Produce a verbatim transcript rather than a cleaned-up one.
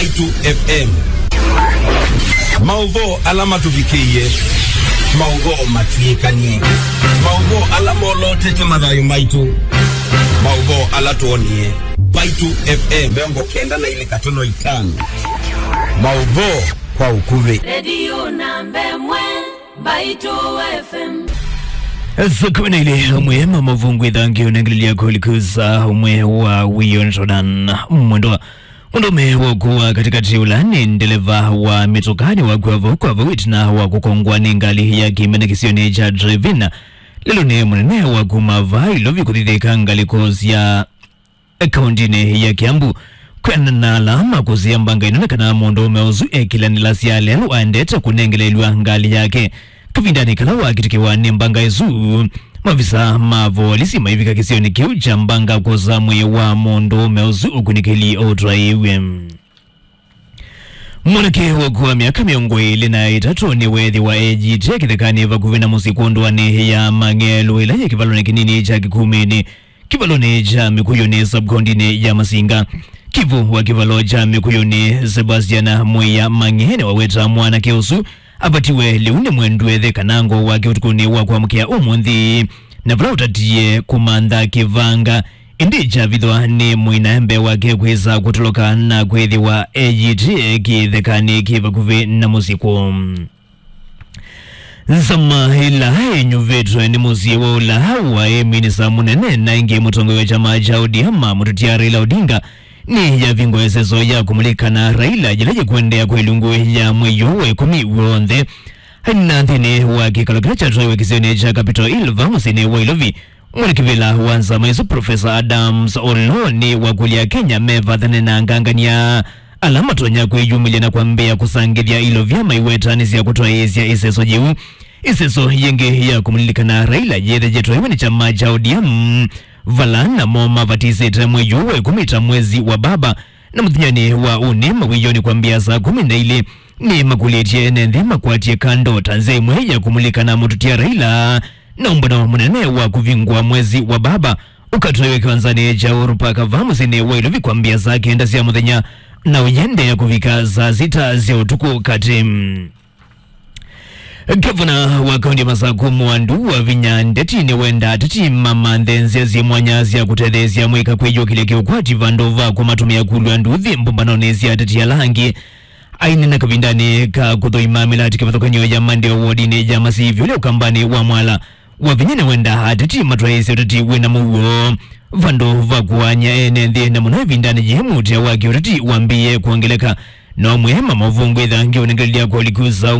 Mbaitu F M. Maũvoo ala matũvikĩie, maũvoo matw'ĩkanie, maũvoo ala molotete mathayũ maitũ, maũvoo ala twonie. Mbaitu F M mĩongo kenda na ilĩ katono itano. Maũvoo kwa ũkuvĩ. Redio namba ĩmwe, Mbaitu F M. Saa kumi na ilĩ, ũmwe ma mavungu ĩthangi ũnengelelya kũlikuza ũmwe wa wĩyo nĩ Jordan Mwendwa. Mũndũũme wa ũkũũ wa katĩkatĩ ũla nĩ ndeleva wa mĩtũka nĩwakw'a vau kwa vau ĩtina wa kũkongwa nĩ ngalĩ ya kĩmene kĩsionĩ kya Drevin lelũnĩ mũnene wa kuma vaa Ilovi kũthithĩka ngalĩko sya kaũndĩnĩ ya Kiambu. Kwĩanana na ala makũsĩĩa mbanga ĩno nĩ kana mũndũũme ũsu ekĩlanĩla sya lelũ aendete kũnengeleelw'a ngalĩ yake. Kavindanĩ kala wakitĩkĩwa nĩ mbanga ĩsu, mavisa ma volisi maivika kĩsionĩ kĩu kya mbanga kwosa mwĩĩ wa mũndũũme ũsu ũkunĩkĩli ũtwaĩĩw'e. Mwanake wa ũkũũ wa myaka mĩongo ĩlĩ na ĩtatũ nĩweethĩwa eeyĩtĩe kĩthekanĩ vakuvĩ na mũsyĩ kwondũanĩ ya Mang'elu ĩla yĩ kĩvalonĩ kĩnini kya Kĩkumĩnĩ, kĩvalonĩ kya Mĩkũyũnĩ, sub-kaũndĩnĩ ya Masinga. Kĩvũ wa kĩvalo kya Mĩkũyũnĩ, Sebastian Mwĩya Mang'e, nĩwaweta mwanake ũsu avatiwe lĩu nĩ mwendu ethĩ kana ngoo wake ũtukũnĩ wa kwamũkĩa ũmũnthĩ, na vala ũtatie kũmantha kĩvanga, ĩndĩ kyavithwa nĩ mũinae mbee wake kwĩsa kũtoloka na kwĩthĩwa eyĩtĩe kĩthekanĩ kĩ vakuvĩ na mũsyĩ kwoo. Nzama ĩla ĩnyuvĩtwe nĩ mũsyĩ wa ũla waĩ minisa mũnene na ĩngĩ mũtongoi wa kyama kya O D M, mũtũtia Raila Odinga, nĩ yavingwa ĩseso ya kũmũlĩka na Raila yĩla yĩkũendeea kwa ilungu ya mwei ũũ wa ĩkũmi w'onthe. Aina nthĩnĩ wa kĩkalo kĩla kyatwaiwe kĩsionĩ kya Capitol Hill vaa mũsyĩnĩ wa Ilovi, mwene kĩvĩla wa nzama ĩsu Professor Adams Oloo nĩwakũlya Akenya mevathane na angangania ala matonya kwĩyumĩlya na kwambĩĩa kũsangĩthya ilo vyama iwetanĩsya kũtwaĩĩsya ĩseso yĩu. Ĩseso yĩngĩ ya kũmũlilikana Raila yĩthĩĩtwe nĩ kyama kya O D M, vala namo mavatisĩte mwei ũũ wa ĩkũmi ta mwezi wa baba, na mũthenyanĩ wa ũnĩ mawĩyonĩ kwambĩĩa saa kũmi na ilĩ nĩmakũlĩtye ene nthĩ makwatye kando ta nzĩa ĩmwe ya kũmũlilikana mũtũtia Raila na ũmbano mũnene wa kũvingũa mwezi wa baba ũkatwaiwe kĩwanzanĩ kya Uhuru Park vaa mũsyĩnĩ wa Ilovi kwambĩĩa saa kenda sya mũthenya na ũyendeea kũvika saa sita sya ũtukũ katĩ. Gavana wa kaunti ya Masaku Mwandu Wavinya Ndeti nĩwenda ateti mamanthe nzĩa syĩ mwanya sya kũtetheesya amũika kwĩyũkĩlya kĩũkwati vandũ va kũmatũmĩa kulw'a nduthi mbũmbanonĩ sya ateti ala angĩ. Aineena kavindanĩ ka kũthũima mĩlatĩ kĩvathũkany'o ya Mandeo wodinĩ ya Masivi ũla ũkambanĩ wa Mwala, Wavinya nĩwenda ateti matwaĩĩsye ũteti wĩ na mũuo vandũ va kũany'a ene nthĩ, na mũno ĩvindanĩ yĩĩ mũtĩa wa kĩũteti wambĩĩe kwongeleka. No mwĩema maũvũngũ ĩthangi ũnengelelya kwa ũliku saũ